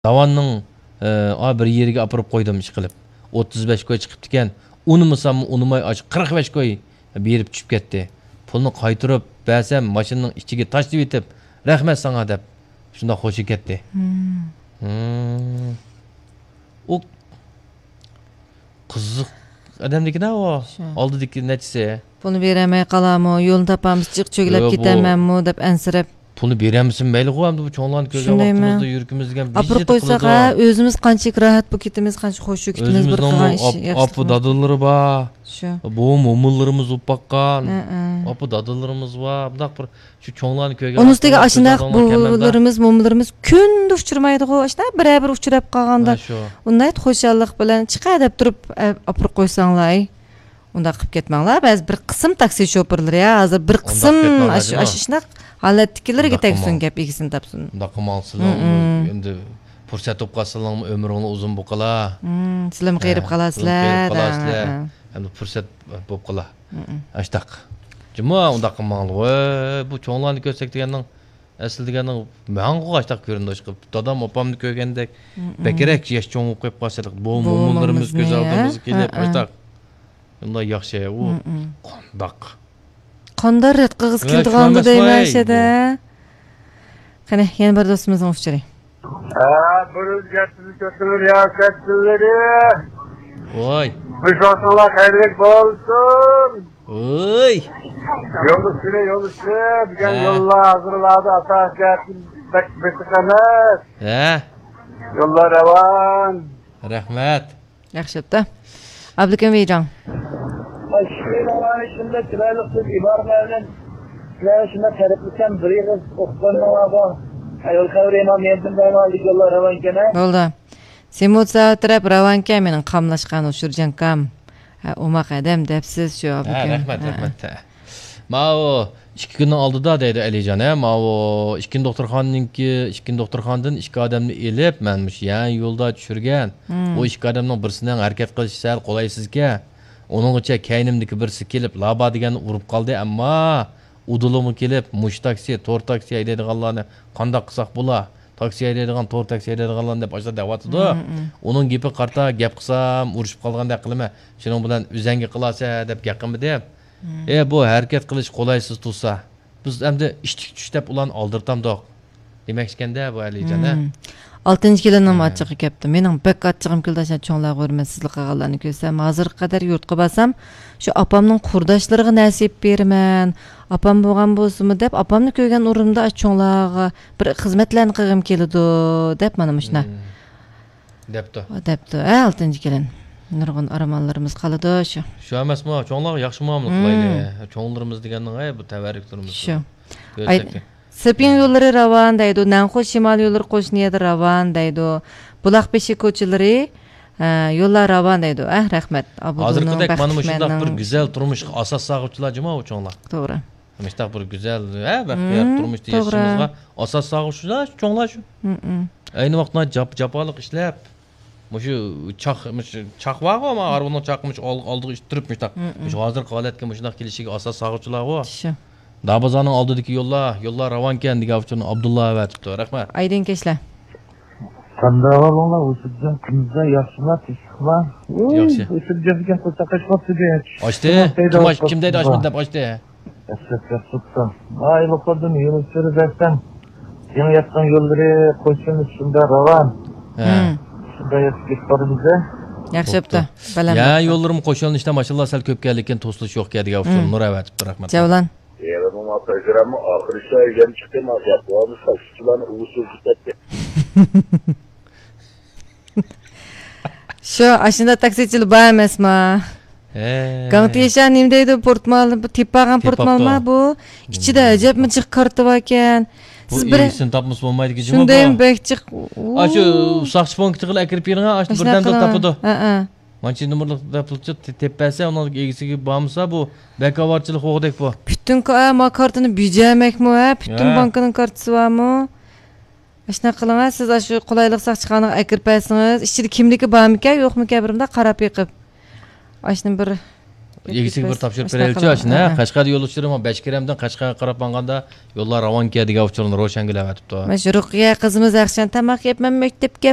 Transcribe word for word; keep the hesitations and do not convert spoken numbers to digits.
داۋاننىڭ، ئە، ئا، بىر يېرىگە ئاپىرىپ قويدۇم، ئىشقىلىپ. ئوتتۇز بەش كوي چىقىپتىكەن. ئۇنىمىساممۇ ئۇنىماي، ئاشۇ قىرىق بەش كوي بېرىپ چۈشۈپ كەتتى. پۇلنى قايتۇرۇپ بەرسەم، ماشىنىنىڭ ئىچىگە تاشلىۋېتىپ، «رەھمەت ساڭا» دەپ، شۇنداق خوشى كەتتى. ھىم. ھىم. ئۇ قىزىق ئادەمدىكىنە ئۇ. شۇ. ئالدىدىكى نەچچىسى. پۇلنى بېرەلمەي قالامۇ، يولنى تاپالمىسا جىق چۆگىلەپ يوق، بۇ كېتەمەنمۇ دەپ ئەنسىرەپ. پۇلنى بېرەلمىسىمۇ مەيلىغۇ، ئەمدى بۇ چوڭلارنى كۆرگەن شۇندايمۇ؟ ۋاقتىمىزدا يۈرىكىمىز دېگەن بىجىت قىلىدۇ. ھە، ئۆزىمىز قانچىلىك راھەت بولۇپ كېتىمىز، قانچە خوش بولۇپ كېتىمىز بىر ئۆزىمىزنىڭمۇ قىلغان ئىش ئاپ-، ياخشى ئاپا دادىلىرى بار. شۇ. بوۋام مومىلىرىمىز بولۇپ باققان. ھە، ھە. ئاپا دادىلىرىمىز بار. بۇنداق بىر شۇ چوڭلارنى كۆرگەن ئۇنىڭ ئۈستىگە ۋاقتىمىزدا ئاشۇنداق كۆز ئالدىڭلار كەلمەمدۇ؟ بوۋىلىرىمىز، مومىلىرىمىز كۈندە ئۇچرىمايدىغۇ، ئاشۇنداق بىرەر بىر ئۇچراپ قالغاندا، ھە، شۇ. ئۇنداق خۇشاللىق بىلەن چىقە دەپ تۇرۇپ، ئە، ئاپىرىپ قويساڭلار. ئۇنداق قىلىپ كەتمەڭلار. بەزى بىر قىسىم تاكسى شوپۇرلىرى، ھە، ھازىر بىر ئۇنداق قىسىم كەتمەڭلار، ئاشۇ، جۇمۇ. ئاشۇ شۇنداق ھالەتتىكىلىرىگە ئۇنداق تەگسۇن، قىلماڭ. گەپ ئىگىسىنى تاپسۇن. ئۇنداق قىلماڭسىلەر. ھە، ھە. ئەمدى پۇرسەت بولۇپ قالسىلەرمۇ ئۆمرۈڭلار ئۇزۇن بولۇپ قالا. ھە، سىلەرمۇ ھە، قېرىپ قالارسىلەر. قېرىپ قالارسىلەر. ھە، ھە. ئەمدى پۇرسەت بولۇپ قالا. ھە، ھە. ئاشتاق. جۇمۇ ئۇنداق قىلماڭلار. ۋاي، بۇ چوڭلارنى كۆرسەك دېگەننىڭ، ئەسلى دېگەننىڭ ماڭىغۇ ئاشتاق كۆرۈندى. ئاشتاق دادام ئاپامنى كۆرگەندەك ھە، ھە. بەكرەك ياش چوڭ بولۇپ قېلىپ قالسا، بوۋام مومىلىرىمىز كۆز ھە، ئالدىمىزغا كېلىپ، ھە، ھە. ئاشتاق. ئۇنداق ياخشى، ئۇ ھە، ھە. قانداق؟ قانداق رەت قىلغۇسى ھە، كېلىدىغاندۇ دەيمەن ئەشەدە. بۇ. قېنى، يەنە بىر دوستىمىزنىڭ ئۇچۇرى. ھە، بۇرۇن گەپنى كۆتۈرۈپ رىياسەتچىلىرى. ۋاي. بۇ ۋاقتىڭلار خەيرلىك بولسۇن. ۋاي. يولدىشى، يولدىشى، بۈگۈن ھە. يوللار ھازىرلاردا ئاساسىي جەھەتتىن بەك بېسىق ئەمەس. ھە. يوللار راۋان. رەھمەت. ياخشى بوپتۇ. ئابلىكىم ۋىجاڭ. شۇنداق چىرايلىق سۆز ئىبارىلەر بىلەن سىلەرگە شۇنداق تەرىپلىسەم، بىر ئېغىز ئوقۇپ قويماڭلارغۇ. يول خەۋىرى ئىمام يەنتىن بەينىڭ ئالدىكى يوللار راۋانكەن ھە. بولدى. سېموتساۋ تەرەپ راۋانكەن، مېنىڭ قاملاشقان ئۇچۇر جانكام. ھە، ئوماق ئادەم دەپسىز شۇ ھە، ئابلىكىم. رەھمەت، ھە. رەھمەت. ھە. ماۋۇ ئىككى كۈننىڭ ئالدىدا دەيدۇ ئەلىجان، ھە، ماۋۇ ئىككىنچى دوختۇرخانىنىڭكى، ئىككىنچى دوختۇرخانىدىن ئىككى ئادەمنى ئېلىپ، مەن مۇشۇ يەنە يولدا چۈشۈرگەن. مم. ئۇ ئىككى ئادەمنىڭ بىرسىنىڭ ھەرىكەت قىلىشى سەل قولايسىزكەن. ئۇنىڭغىچە كەينىمدىكى بىرسى كېلىپ، لابا دېگەننى ئۇرۇپ قالدى، ئەمما ئۇدۇلىمۇ كېلىپ، مۇشۇ تاكسى، تور تاكسى ھەيدەيدىغانلارنى قانداق قىلساق بولا؟ تاكسى ھەيدەيدىغان، تور تاكسى ھەيدەيدىغانلارنى دەپ ئاشۇنداق دەۋاتىدۇ. مم، مم. ئۇنىڭ گېپىگە قارىتا گەپ قىلسام، ئۇرۇشۇپ قالغاندەك قىلىمەن. شۇنىڭ بىلەن ئۆزەڭگە قىلارسەن دەپ گەپ قىلمىدىم. مم. ئە، بۇ ھەرىكەت قىلىش قولايسىز تۇرسا، بىز ئەمدى ئىشتىك چۈش دەپ ئۇلارنى ئالدىرتامدۇق دېمەكچىكەندە بۇ ئەلىجان، ھە؟ مم. ئالتىنچى كېلىننىڭمۇ ھە. ئاچچىقى كەپتۇ. مېنىڭ بەك ئاچچىقىم كېلىدۇ، ئاشۇ چوڭلارغا ھۆرمەتسىزلىك قىلغانلارنى كۆرسەم. ھازىرغا قەدەر يۇرتقا بارسام، شۇ ئاپامنىڭ قۇرداشلىرىغا نەسىيە بېرىمەن. ئاپام بولغان بولسىمۇ دەپ، ئاپامنى كۆرگەن ئورنۇمدا ئاشۇ چوڭلارغا بىر خىزمەتلەرنى قىلغۇم كېلىدۇ دەپ، مانا مۇشۇنداق. مم. دەپتۇ. دەپتۇ، ھە، ئالتىنچى كېلىن. نۇرغۇن ئارمانلىرىمىز قالىدۇ شۇ. شۇ ئەمەسمۇ، چوڭلارغا ياخشى مۇئامىلە مم. قىلايلى. چوڭلىرىمىز دېگەننىڭ، ھەي، بۇ تەۋەررۈكلىرىمىز. شۇ. ئاي، سېپىڭ يوللىرى راۋان دەيدۇ، نەنخۇ شىمال يوللىرى قوشنا يەردە راۋان دەيدۇ. بۇلاق بېشى كوچىلىرى، ھە، يوللار راۋان دەيدۇ. ئەھ، رەھمەت. ھازىرقىدەك مانا مۇشۇنداق بىر گۈزەل تۇرمۇشقا ئاساس سالغۇچىلار جۇما ئۇ چوڭلار. توغرا. مۇشۇنداق بىر گۈزەل، ھە، بەختىيار مم، تۇرمۇش توغرا. ياشىشىمىزغا ئاساس سالغۇچىلار چوڭلار شۇ. مم، مم. ئەينى ۋاقىتتا جاپ-، جاپالىق ئىشلەپ، مۇشۇ چاق، مۇشۇ چاق بارغۇ، مانا ھارۋىنىڭ چاقى مۇشۇ ئال-، ئالدىغا ئىتتىرىپ مۇشۇنداق. مم، مم. مۇشۇ ھازىرقى ھالەتكە مۇشۇنداق كېلىشىگە ئاساس سالغۇچىلارغۇ. شۇ. دابازانىڭ ئالدىدىكى يوللار، يوللار راۋانكەن دېگەن ئۇچۇرنى ئابدۇللا ئەۋەتىپتۇ. رەھمەت. ئايدىن كەچلەر. قانداق ئەھۋالىڭلار؟ ھۇسۇپجان، كۈندۈزلەر ياخشىما، تىنچلىقما؟ ۋۇي، ياخشى. ھۇسۇپجان ئىكەن، قورساق ئاچماپتۇ دەيدۇ. ئاچتى. كىم ئاچ-، كىم دەيدۇ ئاچمىدى دەپ ئاچتى؟ ئەسلەپ ياخشى تۇتسام. ئاي، لوقاردىن يولۇچىلىرى بەرسەم، يېڭى ياپقان يوللىرى قوشۇلۇش شۇنداق راۋان. ھە. مم. شۇنداق ياخشى كېتىپ بارىمىز-دە. ياخشى بوپتۇ. بوپتۇ. بالام يا، بوپتۇ. يوللىرىمۇ قوشۇلۇشتا ماشىنىلار سەل كۆپ كەلدىكەن، توسۇلۇش يوق دېگەن ئۇچۇر مم. نۇر ئەۋەتىپتۇ، رەھمەت. جەۋلان. يېڭىمۇ پروگرامما ئاخىرى شۇ يەم چىقتى، ما گەپ بولمىسا، شۇلارنى ئۇۋۇسۇل كېتەتتى. شۇ، ئاشۇنداق تاكسىچىلار بار ئەمەسما؟ ھە. گاڭتىشا نېمە دەيدۇ؟ پورتمال، بۇ تېپىپ بارغان پورتمالما بۇ؟ ئىچىدە ئەجەبمۇ جىق كارتا باركەن. بۇ سىز بىر ئىگىسىنى تاپمىسا بولمايدىكەن جۇمۇ بۇ. شۇندايمۇ بەك جىق. ئاشۇ ساقچى پونكىتىغىلا ئەكىرىپ بېرىڭە، ئاشۇ بىردەمدە تاپىدۇ. ھە، ھە. مانچە نومۇرلۇق دەپ پۇل تېپىپ بەرسە، ئۇنىڭ ئىگىسىگە بارمىسا، بۇ بەك ئاۋارىچىلىق بولغۇدەك بۇ. پۈتۈن كا-، ما كارتىنى بېجەرمەكمۇ، ھە؟ پۈتۈن ھە. بانكىنىڭ كارتىسى بارمۇ؟ ئاشۇنداق قىلىڭ، ھە، سىز ئاشۇ قولايلىق ساقچىخانىغا ئەكىرىپ بەرسىڭىز، ئىچىدە كىملىكى بارمىكەن، يوقمىكەن، بىر مۇنداق قاراپ بېقىپ. ئاشۇنى بىر ئىگىسىگە بىر تاپشۇرۇپ بېرەيلىچۇ، ئاشۇنى. قەشقەردە يولدىشىدىن بەشكېرەمدىن قەشقەرگە قاراپ ماڭغاندا يوللار راۋانكەن دېگەن ئۇچۇرنى روشەنگۈل ئەۋەتىپتۇ. مانا شۇ رۇقىيە قىزىمىز ئاخشام تاماق يەپ، مەن مەكتەپكە